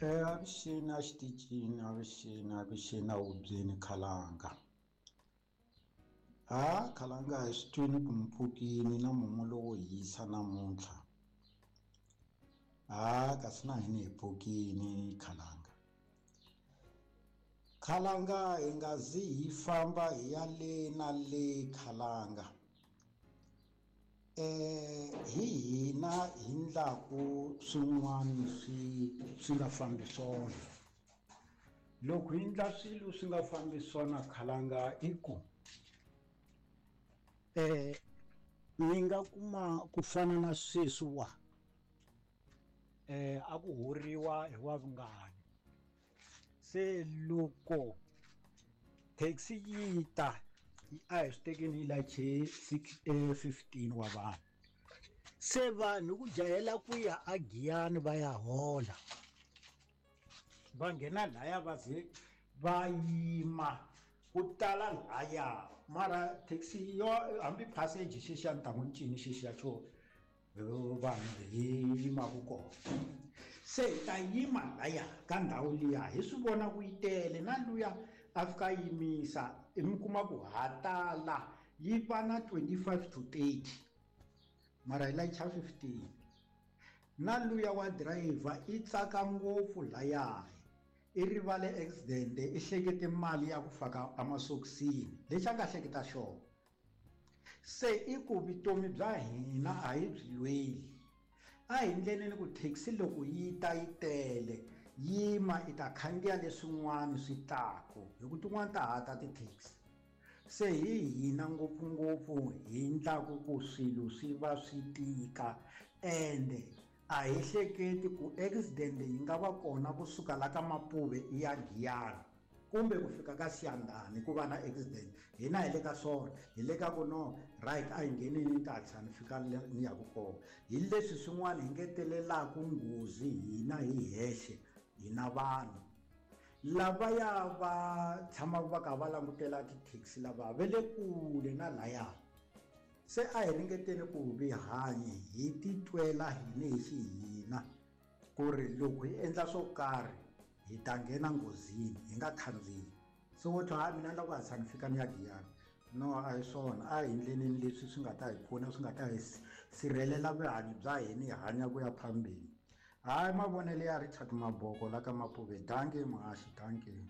Avuxeni a xitichini, avuxeni, avuxeni a hubyeni Khalanga. Ha Khalanga hi swi twini ku mi pfukini na mumu lowo hisa namuntlha. Ha kasi na hina hi pfukini Khalanga. Khalanga hi nga zi hi famba hi ya le na le Khalanga. Hi hina hi ndlaku swin'wana swi swi nga fambi swona loko hi ndla swilo swi nga fambi swona khalanga i ku mi nga kuma ku fana na sweswi wa a ku horiwa hi wa vungani se loko taxi yi ta a hi swi tekeni yi lache 15 wa vanhu se vanhu ku jahela ku ya a Giyani va ya hola va nghena laya va ze va yima ku tala laya mara taxi yo hambi passage xexiya ni ta n'wi ncini xexiya xo vanhu hi yimaka kona se hi ta yima laya ka ndhawu liya hi swi vona ku yi tele na luya a fika a yimisa mi kuma ku ha tala yi va na 25 to 30 mara hi layicha 15 na luya wa driver i tsaka ngopfu laya i rivale accident i hlekete mali ya ku faka emasokisini lexi a nga hleketa xona se i ku vutomi bya hina a hi byi lweli a hi ndleleni ku taxi loko yi ta yi tele yima i ta khandziya leswin'wana swi taku hi ku tin'wana ta ha ta ti-taxi se hi hina ngopfungopfu hi ndlaku ku swilo swi va swi tika ende a hi hleketi ku accident yi nga va kona kusuka la ka Mapuve i ya Giyani kumbe ku fika ka Siyandhani ku va na accident hina hi le ka swona hi le ka ku no right a hi nghenini ni ta hatlisa ni fika ni yaku kona hi leswi swin'wana hi ngetelelaku nghozi hina hi hexe hina vanhu lavaya va tshamaka va kha va langutela ti-taxi lava va le kule na laya se a hi ringeteni ku vi hanyi hi titwela hina hi xihina ku ri loko hi endla swo karhi hi ta nghena nghozini hi nga khandziyi se wo twa mina ni lava ku hatlisa ni fika ni ya Giyani no a hi swona a hi ndleneni leswi swi nga ta hi pfuna swi nga ta hi sirhelela vuhanyo bya hina hi hanya ku ya phambili hayi mavonelo ya Richard Maboko la ka Mapuve dankie muhaxi dankie.